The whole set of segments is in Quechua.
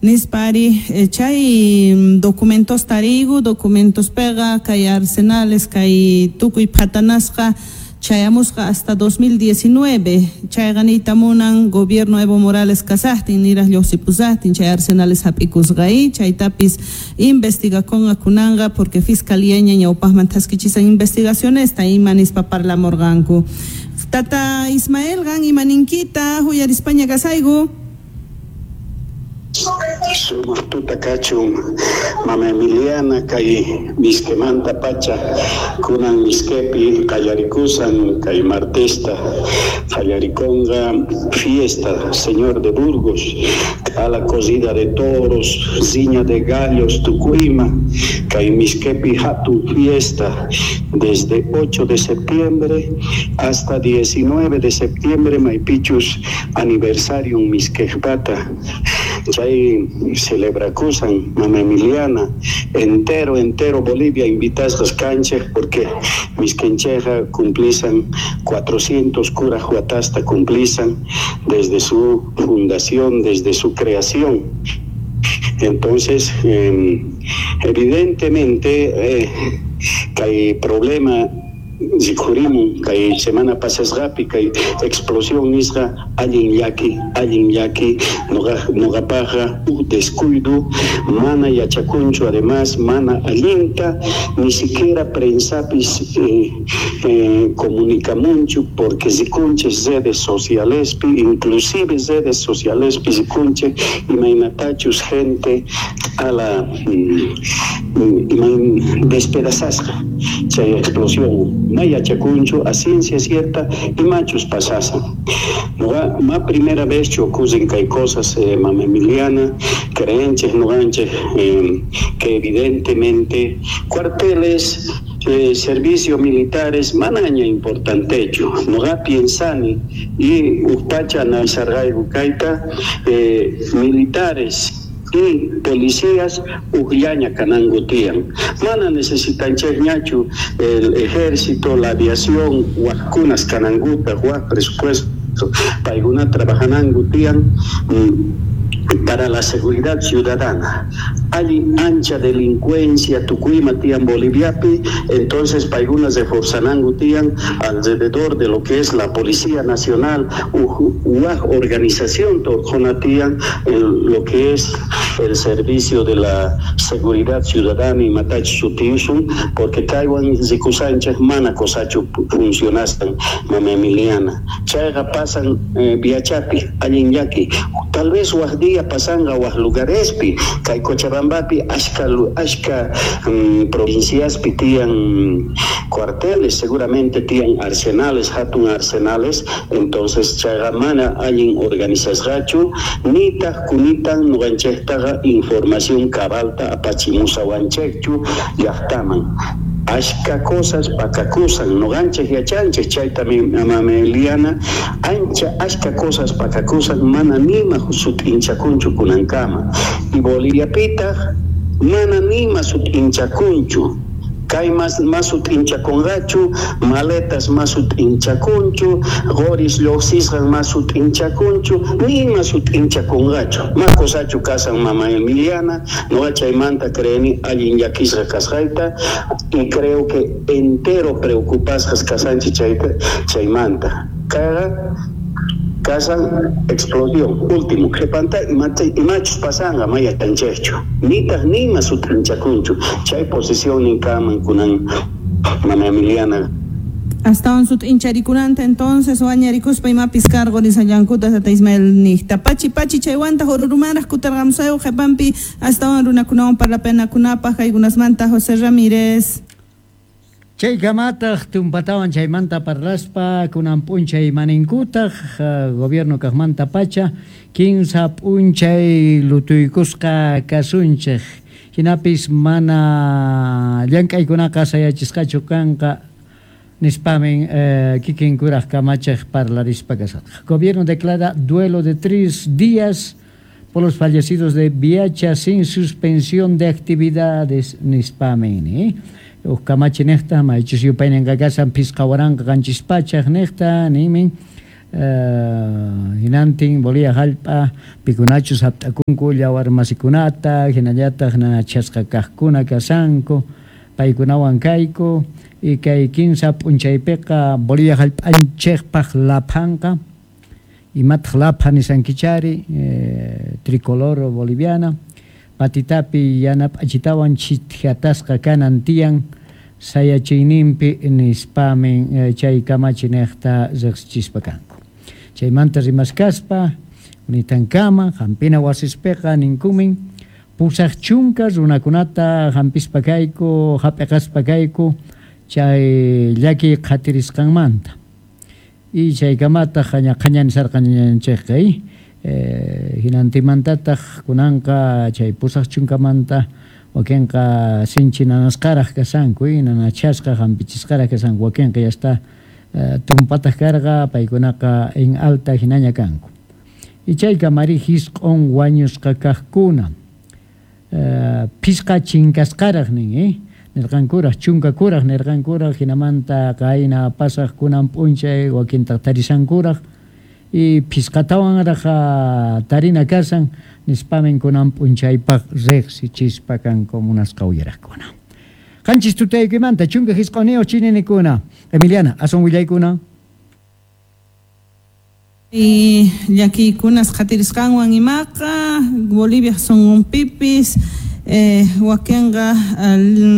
Nispa ari chay documentos tariyku, documentos pega kay arsenales kay tukuy phatanasqa chayamusqa hasta 2019, chayqa niyta munan gobierno Evo Morales kasaqtin niraq lluqsipusaqtin chay arsenales hap'ikusqa y chaytapis investigakunqa kunanqa porque fiscalía ña ñawpaqman thaskichisan investigacionesta ima nispa parlamurqanku. Tata Ismael, qan ima ninkita huyarispaña kasayku. Sumaq tuta kachun, mama Emiliana, kay Mizquemanta pacha kunan Mizquepi qallarikusan kay martesta qallarikunqa fiesta Señor de Burgos, q'ala corrida de toros, riña de gallos, tukuyma kay Mizquepi hatun fiesta desde 8 de septiembre hasta 19 de septiembre, maypichus aniversario Mizquejpata chay celebrakusan, mama Emiliana, entero entero Bolivia invitasqas kanchik porque Mizquencheja cumplisan 400 kuraq watasta cumplisan desde su fundación, desde su creación. Entonces, evidentemente, kay problema rikhurimun kay semana pasasqapi kay explosión nisqa allin llaki, allin llaki nuqapaqqa huk descuido, mana yachakunchu, además mana allinta ni siquiera prensapis comunicamunchu porque rikunchis redes socialespi, inclusive redes socialespi rikunchik imaynatachus gente a la despedazasqa chay explosión ma yachakunchu a ciencia cierta imachus pasasan. Nuqa ma primera vez chu ocurren kay cosas, mama Emiliana, creenchik nuqanchik que evidentemente cuarteles, servicios militares manaña importantechu. Nuqa piensani y upacha analizarqayku kayta, militares y policías ujllaña kananku tiyan. Mana necesitanchikñachu el ejército, la aviación, wajkunas kanankuta, waj presupuesto, paykuna trabajananku tiyan para la seguridad ciudadana. Hay ancha delincuencia tukuyma tiyan Boliviapi, entonces paykuna reforzananku tiyan alrededor de lo que es la Policía Nacional, waj organización torjona tiyan lo que es el servicio de la seguridad ciudadana y matach sutiusun, porque kaywan rikusanchik mana kosachu funcionasan, mama Emiliana. Chayqa pasan viachapi, allin llaki. Tal vez waj día pasanga waj lugarespi, kay Cochabambapi ashka ashka provinciaspi tiyan cuarteles, seguramente tiyan arsenales, hatun arsenales, entonces chayqa mana allin organizasqachu, nitaq kunitan nuqanchiktaqa información cabalta apachimusawanchikchu llaqtaman. Ashka cosas pakakusan, nuqanchik yachanchik chayta mama Emiliana, ancha ashka cosas pakakusan mana nima sut'inchakunchu kunankama. Y Boliviapitaq mana nima sut'inchakunchu. Kay mas sut'inchakunqachu, maletas mas sut'inchakunchu, qoris lluqsisqan mas sut'inchakunchu, nima sut'inchakunqachu. Ma kosachu kasan mama Emiliana, nuqa chaymanta creeni allin llakisqa kasqayta y creo que entero preocupasqas kasanchik chayta chaymanta. Kayqa kasan explosión último qhipanta imachus pasanqa ma yachanchikchu, nitaq nima sut'inchakunchu chay posición ninkaman kunan mama Emiliana. Astawan sut'incharikunanta entonces wañarikuspa imapis cargo nisallankuta tata Ismael niqta. Pachi pachi chaywanta hururumanraq kutarqamusayu qhipanpi astawan runakunawan parlapanakunapaq kaykunasmanta José Ramírez. Chaykamataq tumpatawan chaymanta parlaspa kunan p'unchay maninkutaq gobierno kaqmanta pacha kinsa p'unchay lutuykusqa kasunchik hinapis mana llank'aykunaqa sayachisqachu kanqa nispamin kikin kuraq kamachiq parlarispa kasatqa. Gobierno declara duelo de 3 días por los fallecidos de Viacha sin suspensión de actividades nispamin, ¿eh? Uj kamachi niqta maychus yupayninqa kasan phisqa waranqa qanchis pachaq niqta nimin Hinantin Bolivia hallp'a pikunachus hapt'akunku yawar masikunata hinallataq nanachasqa kaqkuna kashanku paykunawan kayku y kay kinsa p'unchaypiqa Bolivia hallp'anchikpaq laphanqa imataq lapha nisankichari tricolor boliviana patitapi yana p'achitawan chithatasqa kanan tiyan sayachiyninpi nispamin chay kamachi niqta riqsichispa kanku. Chaymanta rimaskaspa unitankama hampina wasispiqa ninkumin 80 runakunata hampispa kayku hap'iqaspa kayku chay llaki qhatirisqanmanta. Y chaykamataq qhaña nisarqanchikqa hinantimantataq kunanqa chay 80manta wakinqa sinchi nanasqaraq kashanku nanachasqa hampichisqaraq kashanku wakinqa ya está tumpataq karqa paykunaqa en alta hinaña kanku. Y chaykamari 9 wañusqa kaqkuna 5 chinkasqaraq nin nirqankuraq 10 nirqankuraq hinamanta qayna pasaq kunan p'unchay wakintaq tarishankuraq y 5tawanraq tarina kasan nispamin kunan p'unchaypaq riqsichispa kanku munasqa uyaraqkuna. 7 tutaykimanta 19 chininikuna. Emiliana, asun willaykuna. Y llakiykunas qhatirisqanwan imaqa Bolivia sunqunpipis wakinqa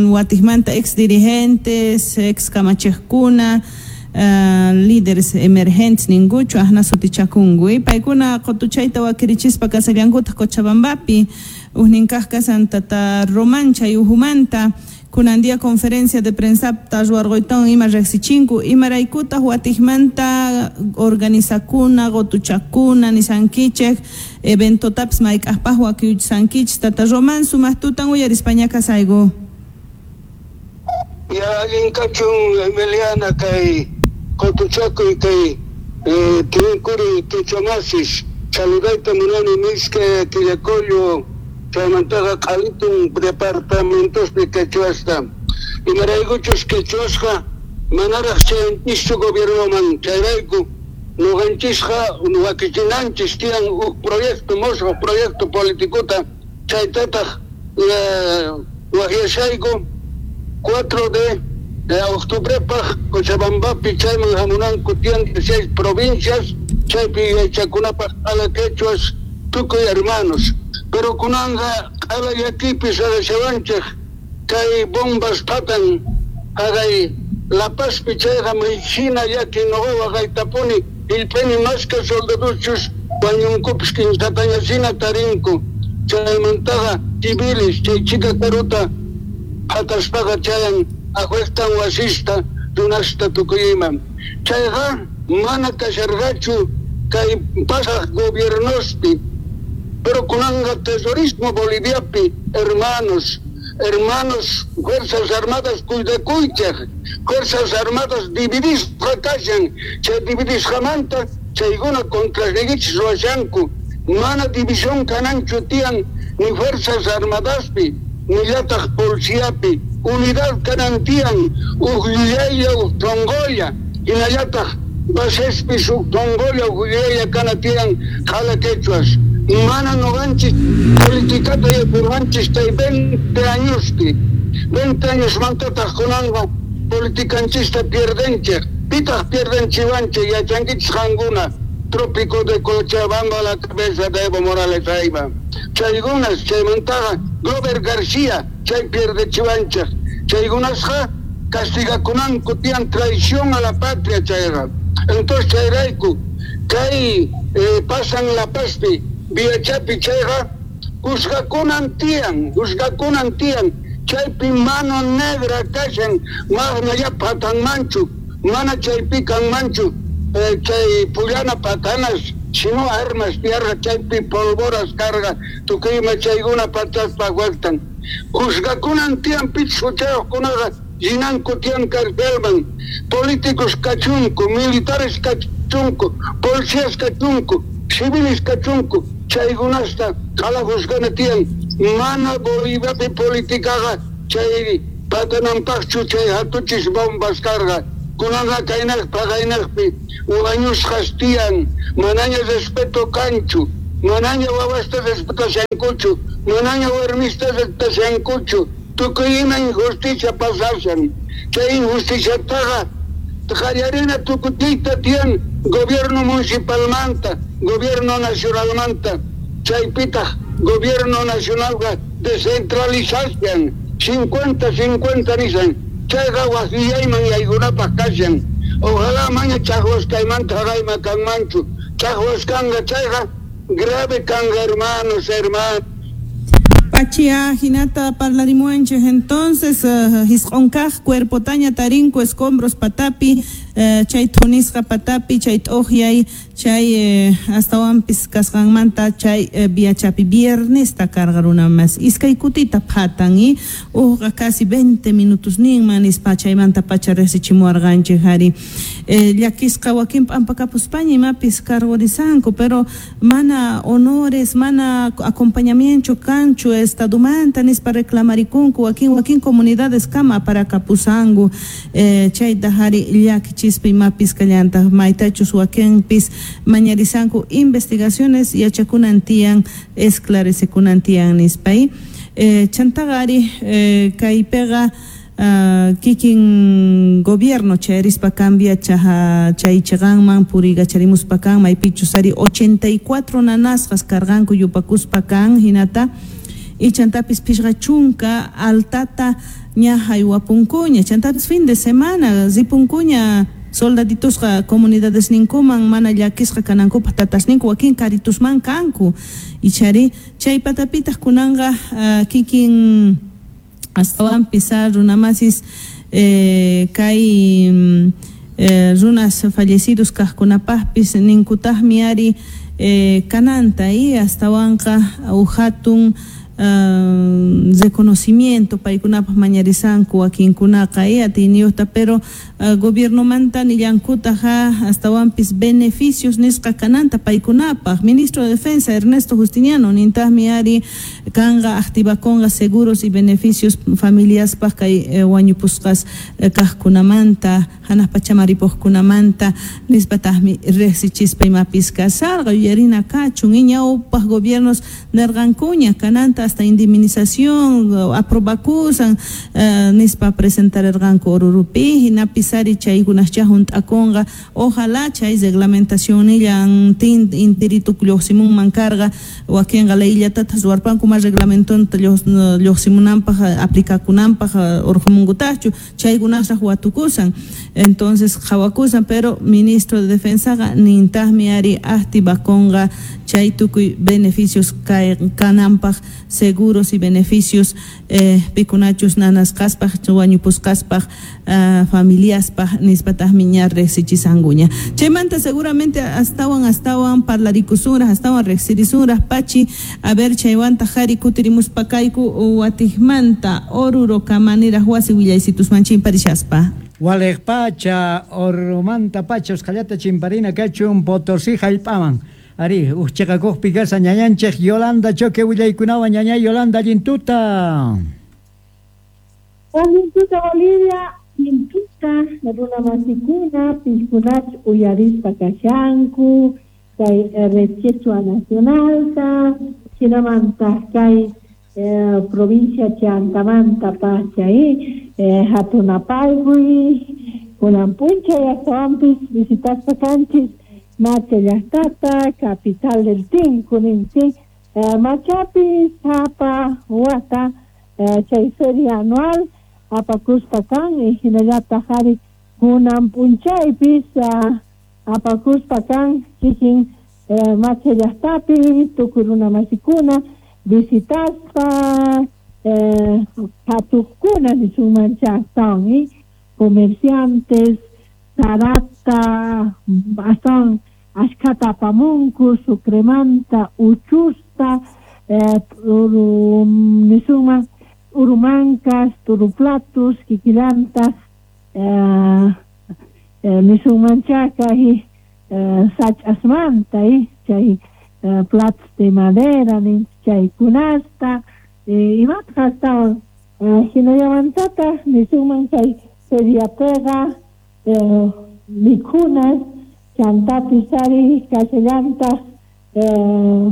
watikmanta ex dirigentes, ex kamachiqkuna, líderes emergentes ninkuchu ahna sutichakunku paykuna qutuchayta wakirichispa kasallankutaq Cochabambapi ujnin kaq kasan tata Román chay ujumanta kunan día conferencia de prensa ruwarquytawan ima riqsichinku imaraykutaq watikmanta organizakuna qutuchakuna nisankichik eventotapis mayk'aqpaq wakiyuchisankichik tata Román sumaq tutan uyarispaña kasayku. Ya allin kachun Emiliana kay qutuchakuy kay tinkuri quechua-masis saludayta munani Misque Quillacollo chaymantaqa q'alitun departamentospi quechuasta imaraykuchus quechuasqa manaraq chayanchischu gobiernoman chayrayku nuqanchisqa wakichinanchis tiyan huk proyecto mosqo proyecto politicota chaytataq waqyashayku 4 de octubrepaq Cochabambapi chayman hamunanku tiyan 6 provincias chaypi yachakunapaq q'ala quechuas tukuy hermanos. Pero kunanqa q'ala llakipis arashawanchik kay bombas patan haqay La Pazpi chayqa maychina llaki nuqa waqaytapuni illpini mashka soldadochus wañunkupis kinsatañasina tarinku chaymantaqa civiles chay chika karuta phataspaqa chayan ajuestan wasista runasta tukuy ima chayqa mana kasharqachu kay pasaq gobiernospi. Pero kunanqa terrorismo Boliviapi, hermanos, hermanos, Fuerzas Armadas cuidakuychaq, Fuerzas Armadas dividisqa kashan, chay dividisqamanta chaykuna contrarnikichis ruwashanku, mana división kananchu tiyan ni Fuerzas Armadaspi, ni llataq policiapi, unidad kanan tiyan, uj yuyaylla, uj tongolla, hinallataq basespis uj tongolla, uj yuyaylla kana tiyan qhala quechuas. Mana nuqanchis politikata yapurqanchis chay 20 añospi 20 años mantataq kunanqa politikanchista pierdenchik pitaq pierdenchiwanchik yachankichis qankuna trópico de Cochabamba la cabeza de Evo Morales ayma chaykunas chaymantaqa Glover García chay pierdechiwanchik chaykunasqa castigakunanku tiyan traición a la patria chayqa entonces chayrayku kay pasan La Pazpi Villachapi chayqa juzgakunan tiyan chaypi mano negra kashan mana ya patanmanchu mana chaypi kanmanchu chay pullana patanas sino armas tierra chaypi polvoras carga tukuyma chaykuna pataspa waqtan juzgakunan tiyan pichus huchayuqkunaqa rinanku tiyan carcelman políticos kachunku militares kachunku policías kachunku civiles kachunku chaykunasta qhala juzgana tiyan mana Boliviapi politikaqa chay patananpaqchu chay hatuchis bombas karqa Kunanqa kaynaq paqaynaqpi wañusqas tiyan, manaña respeto kanchu, manaña wawasta respetashankuchu, manaña warmista respetashankuchu, tukuy ima injusticia pasashan. Chay injusticiataqa qallarina tukuchiyta tiyan gobierno municipalmanta, gobierno nacionalmanta, chaypitaq gobierno nacionalqa descentralizashan, 50-50 nishan, chayqa wajillayman yaykunapaq kashan. Ojalá maña chaqwas kaymanta haqayma kanmanchu, chaqwas kanqa chayqa grave kanqa, hermanos, hermanas. Pachia hinata parlarimuanchej entonces hisq'onkaq cuerpotaña tarinku escombros patapi, chay thunisqa patapi, chay t'uqyay, chay astawanpis kasqanmanta chay viachapi viernesta karqa runa mas iskay kutita phatan y uqqa casi 20 minutos ninman nispa chaymanta pacha riqsichimuwarqanchik ari. Llakisqa wakin p'ampakapuspaña imapis cargorisanku, pero mana honores, mana acompañamiento kanchu estadumanta nispa reclamarikunku wakin wakin comunidades kama aparakapusanku, chayta ari llakichispa imapis kallantaq maytachus wakinpis mañarisanku investigaciones yachakunan tiyan, esclarecekunan tiyan nispa. Chantaqa ari kaypiqa kikin gobierno chayrispa cambia chaha chay chiqanman puriykacharimuspa kan maypichus ari 84 nanasqas karqanku yupakuspa kan hinata y chantapis phishqa chunka altata ña haywapunkuña, chantapis fin de semana ripunkuña soldaditusqa comunidades ninkuman mana llakisqa kanankupaq tatasninku wakin karitusman kanku ichari chay patapitaq kunanqa kikin astawanpis runamasis kay runas fallecidos kaqkunapaqpis ninkutaqmi ari kananta y astawanqa uhatun reconocimiento paykunapaq mañarisanku wakinkunaqa y atiyniyuqta, pero gobiernomanta nillankutaq astawanpis beneficios nisqa kananta paykunapaq. Ministro de Defensa Ernesto Justiniano nintaqmi ari kanqa activakunqa seguros y beneficios familiaspaq kay wañupusqas kaqkunamanta hanaq pachaman ripuqkunamanta nispataqmi riqsichispa imapis kasarqa yuyarina kachun y ñawpaq gobiernos nirqankuña kananta hasta indemnización aprobakusan nispa presentarerqanku Orurupi hinapis ari chaykunascha hunt'akunqa, ojalá chay reglamentacionnillan intirituk lluqsimunman karqa wakinqa leyllatataq ruwarpanku ma reglamentonta lluqsimunanpaq aplicakunanpaq urqumunkutaqchu chaykunasraq watukusan, entonces qhawakusan, pero ministro de Defensaqa nintaqmi ari activakunqa chay tukuy beneficios kananpaq seguros y beneficios pikunachus nanasqaspaq wañupusqaspaq familiaspaq nispataqmi ña riqsichisankuña. Chaymanta seguramente astawan astawan parlarikusunraq astawan riqsirisunraq pachi, a ver chaywanta qhari kutirimuspa kayku watiqmanta Oruro kamaniraq wasi willaysitusman chimparishaspa. Waliq pacha Orurumanta pacha usqhallata chimparina kachun Potosí hallp'aman. Ari, uqchiqakuqpi kasa ñañanchik Yolanda Choque willaykunawan ñañay Yolanda allintuta. Allintuta Bolivia, allintuta runamasikuna piskunach uyarispa kashanku kay Red Quechua Nacionalta, hinamantaq kay provincia Chantamanta pacha Hatunapalqui, kunan p'unchay astawanpis visitaspa kanchis Macha llaqtata, capital del Tinku ninchik, Machapi sapa wata chay feria anual apakuspa kan hinallataq ari kunan p'unchaypis apakuspa kan kikin Macha llaqtapi tukuy runamasikuna visitaspa qhatuqkuna nisunmancha astawan comerciantes sarata astawan ashkhata apamunku sucremanta uchusta nisunman urumancas turuplatus kikillantaq nisunmancha kay sach'asmanta chay platos de madera chaykunasta imataq astawan hinallamantataq nisunman chay feriapiqa Mikhunas chantapis ari kashallantaq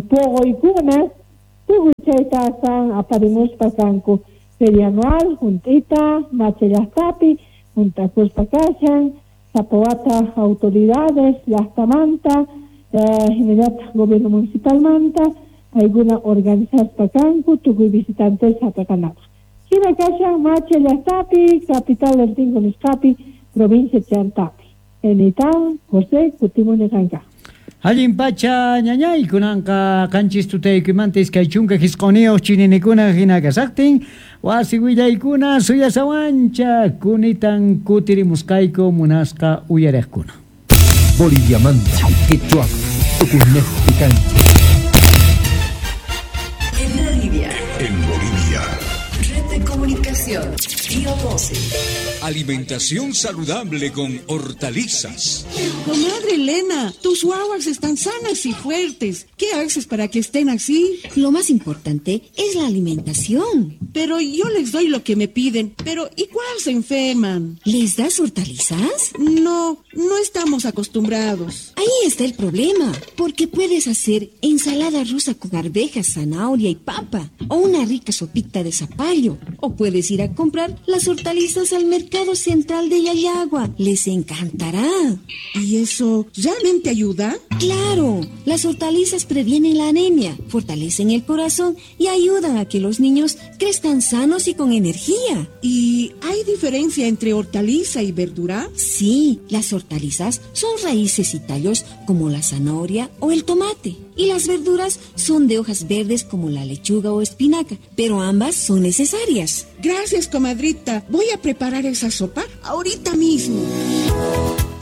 puquykunas tukuy chayta astawan aparimuspa kanku feria anual junt'ita Mache llaqtapi junt'akuspa kashan sapa wata autoridades llaqtamanta hinallataq gobierno municipalmanta paykuna organizaspa kanku tukuy visitantes hap'iqanapaq. Hina kashan Mache llaqtapi capital del Tingo nisqapi provincia Chantapi. Enitan José kutimuni qanka. Allin pacha ñañay kunanqa qanchis tutaykuymanta 29 chininikuna hina kasaqtin wasi willaykuna suyasawancha kunitan kutirimusqayku munasqa uyariqkuna. Boliviamanta, Quechua, Tucunejpi kanchik. En Bolivia. En Bolivia. Red de comunicación. Río 12. Alimentación saludable con hortalizas. Comadre Elena, tus guaguas están sanas y fuertes. ¿Qué haces para que estén así? Lo más importante es la alimentación. Pero yo les doy lo que me piden, pero igual se enferman. ¿Les das hortalizas? No, no estamos acostumbrados. Ahí está el problema, porque puedes hacer ensalada rusa con arvejas, zanahoria y papa, o una rica sopita de zapallo, o puedes ir a comprar las hortalizas al mercado Central de Llallagua. Les encantará. ¿Y eso realmente ayuda? ¡Claro! Las hortalizas previenen la anemia, fortalecen el corazón y ayudan a que los niños crezcan sanos y con energía. ¿Y hay diferencia entre hortaliza y verdura? Sí, las hortalizas son raíces y tallos como la zanahoria o el tomate. Y las verduras son de hojas verdes como la lechuga o espinaca, pero ambas son necesarias. Gracias, comadrita. Voy a preparar esa sopa ahorita mismo.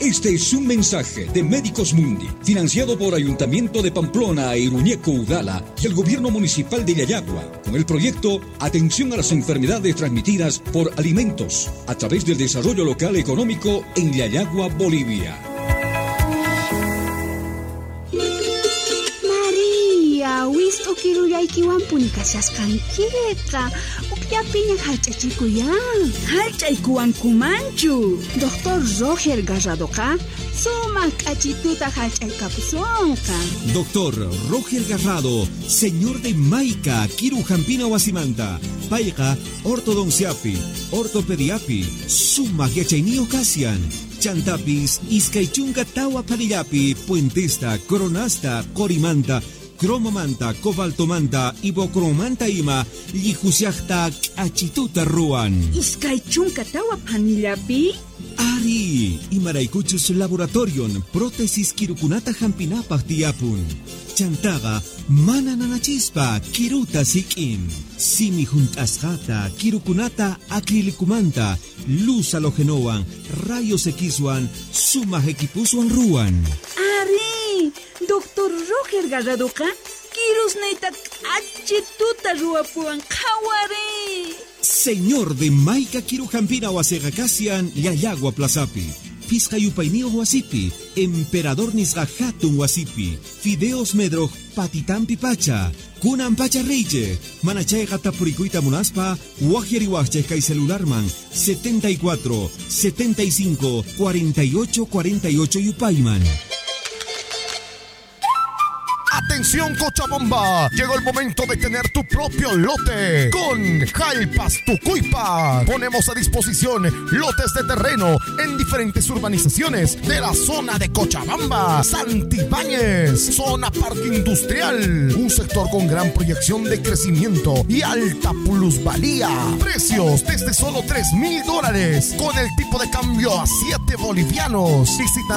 Este es un mensaje de Médicos Mundi, financiado por Ayuntamiento de Pamplona e Iruñeco Udala y el Gobierno Municipal de Llallagua, con el proyecto Atención a las Enfermedades Transmitidas por Alimentos, a través del Desarrollo Local Económico en Llallagua, Bolivia. María, wist'ukirullaykiwanpuni kashasqankiqa. Ukllapiña hallch'achikuyan. Hallch'aykuwankumanchu. Doctor Roger Garradoqa sumaq k'achituta hallch'aykapusunqa. Doctor Roger Garrado, señor de Maica, Kiru Jampina Wasimanta, payqa ortodonciapi, ortopediapi, sumaq yachayniyuq kasian. Chantapis, iskay chunka tawa panillapi, puentesta, coronasta, corimanta, cromomanta, cobaltomanta, ibocromanta ima, llihusiaqta k'achituta ruwan. 24 panillapi? Ari, imaraykuchus laboratorion, prótesis kirukunata hampinapaq tiyapun. Chantaqa mana nanachispa kiruta sik'in. Simi hunt'asqata, kirukunata acrilicumanta, luz halogenowan, rayos Xwan, sumaq equipuswan ruwan. Ari, Doctor Roger Garradoqa kirusniyta k'achituta ruwapuwan qhawari. Señor de Maica Kirujampina wasiqa kasian Llallagua Plazapi. Pisqa yupayniyuq wasipi, Emperador nisqa hatun wasipi, Fideos Medroj patitampi pacha, kunan pacha riychej, mana chayqa tapurikuyta munaspa, waqyariwaqchej kay celularman 74 75 48 48 yupayman. Atención Cochabamba, llegó el momento de tener tu propio lote con Jalpas Tucuipa. Ponemos a disposición lotes de terreno en diferentes urbanizaciones de la zona de Cochabamba, Santibáñez, zona parque industrial, un sector con gran proyección de crecimiento y alta plusvalía. Precios desde solo $3,000 con el tipo de cambio a 7 bolivianos. Visita